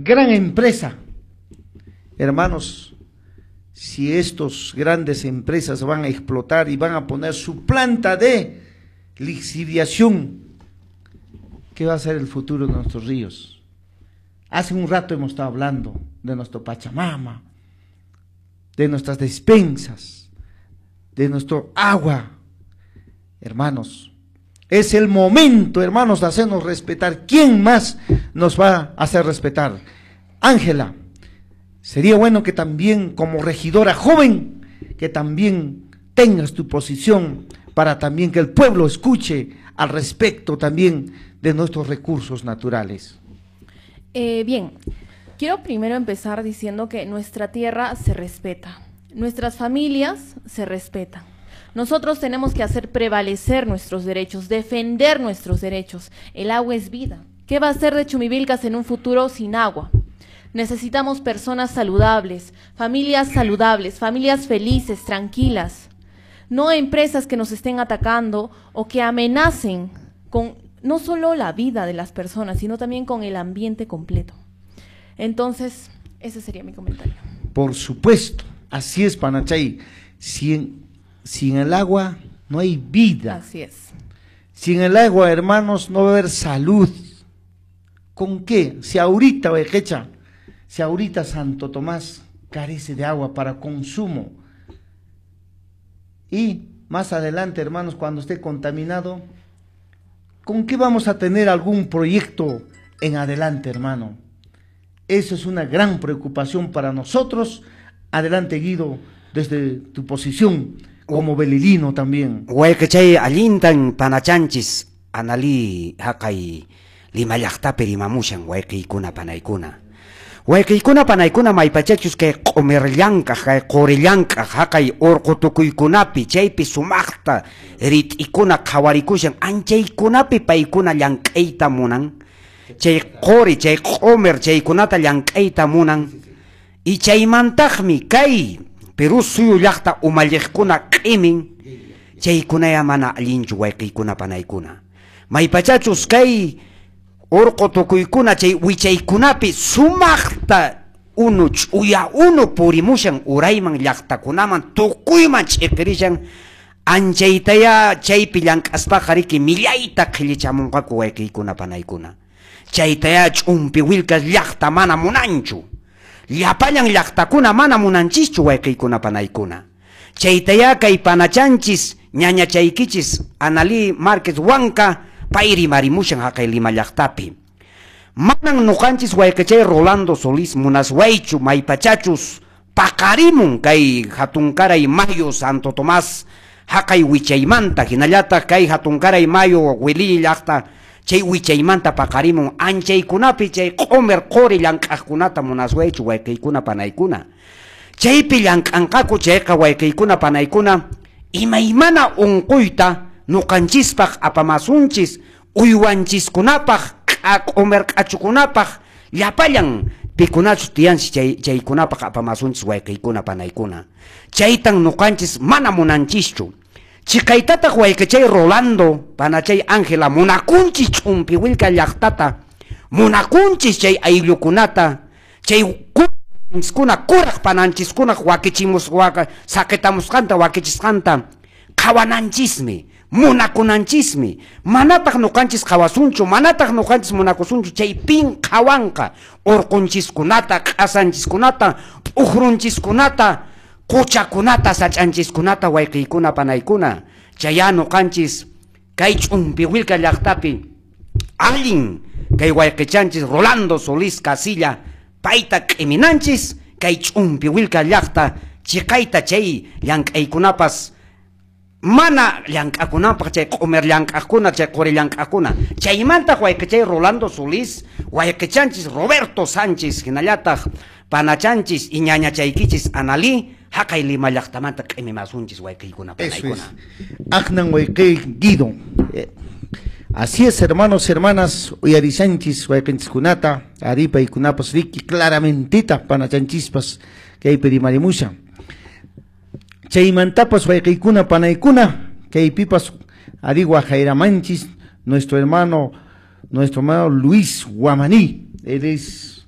Gran empresa. Hermanos, si estos grandes empresas van a explotar y van a poner su planta de lixiviación, ¿qué va a ser el futuro de nuestros ríos? Hace un rato hemos estado hablando de nuestro Pachamama, de nuestras despensas, de nuestro agua. Hermanos, es el momento, hermanos, de hacernos respetar. ¿Quién más nos va a hacer respetar? Ángela, sería bueno que también como regidora joven, que también tengas tu posición para también que el pueblo escuche al respecto también de nuestros recursos naturales. Bien, quiero primero empezar diciendo que nuestra tierra se respeta, nuestras familias se respetan. Nosotros tenemos que hacer prevalecer nuestros derechos, defender nuestros derechos. El agua es vida. ¿Qué va a hacer de Chumbivilcas en un futuro sin agua? Necesitamos personas saludables, familias saludables, familias felices, tranquilas. No empresas que nos estén atacando o que amenacen con no solo la vida de las personas, sino también con el ambiente completo. Entonces, ese sería mi comentario. Por supuesto, así es, Panachay. Sin el agua no hay vida. Así es. Sin el agua, hermanos, no va a haber salud. ¿Con qué? Si ahorita, Oejecha, si ahorita Santo Tomás carece de agua para consumo, y más adelante, hermanos, cuando esté contaminado, ¿con qué vamos a tener algún proyecto en adelante, hermano? Eso es una gran preocupación para nosotros. Adelante, Guido, desde tu posición como belilino también. Wayqichay allintan panachanchis Analí haqay Lima llaqtapi rimamushan wayqiykuna panaykuna. Wayqiykuna panaykuna maypachachus kay q'umir llank'aq kay quri llank'aq haqay urqu tukuykunapi chaypi sumaqta rit'ikuna qhawarikushan anchaykunapi paykuna llank'ayta munan. Chay quri chay q'umir chaykunata llank'ayta munan. Y chaymantaqmi kay Perú suyu llaqta umalliqkuna q'imin chaykunaya mana allinchu wayqiykuna panaykuna. Maypachachus kay urqu tukuykuna chay wichaykunapi sumaqta unu ch'uya unu purimushan urayman llaqtakunaman tukuyman ch'iqirishan anchaytaya chaypi llank'aspaqa riki millayta qhillichamunqaku wayqiykuna panaykuna. Chaytaya Chumbivilcas llaqta mana munanchu. Llapallan llaqtakuna mana munanchischu wayqiykuna panaykuna. Chaytaya kay panachanchis ñañachaykichis Analí Márquez Huanca pay rimarimushan haqay Lima llaqtapi. Manan nuqanchis wayqichay Rolando Solís munaswaychu maypachachus paqarimun kay hatunkaray mayo Santo Tomás haqay wichaymanta hinallataq kay hatunkaray mayo Wililli llaqta chay wichaymanta paqarimun anchaykunapi chay q'umir quri llank'aqkunata munaswaychu wayqiykuna panaykuna. Chaypi llank'anqaku chayqa wayqiykuna panaykuna imaymana unquyta nuqanchispaq apamasunchis uywanchiskunapaq q'umir q'achukunapaq llapallan pikunachus tiyanchis chaykunapaq apamasunchis wayqiykuna panaykuna. Chaytan nuqanchis mana munanchischu. Chiqaytataq wayqichay Rolando panachay Ángela munakunchis Chumbivilca llaqtata munakunchis chay ayllukunata chay kuna kuraq pananchiskunaq wakichimus saqitamusqanta wakichisqanta qhawananchismi munakunanchismi manataq nuqanchis qhawasunchu manataq nuqanchis munakusunchu chay pin qhawanqa urqunchiskunata q'asanchiskunata p'ujrunchiskunata quchakunata sach'anchiskunata wayqiykuna panaykuna. Chaya nuqanchis kay Chumbivilca llaqtapi allin kay wayqichanchis Rolando Solís Casilla payta q'iminanchis kay Chumbivilca llaqta chiqayta chay llank'aykunapas mana llank'akunapaq chay q'umir llank'aqkuna chay quri llank'aqkuna. Chaymantaq wayqichay Rolando Solís wayqichanchis Roberto Sánchez hinallataq panachanchis y ñañachaykichis Analí haqay Lima llaqtamanta q'imimasunchis wayqiykuna panaykuna. Aqnan wayqiy Guido. Así es, hermanos, hermanas, uyarishanchis wayqinchiskunata aripaykunapas riki claramentita panachanchispas kaypi rimarimusha. Chaymantapas wayqiykuna panaykuna kaypipas ari waqayramanchis nuestro hermano Luis Guamaní. Él es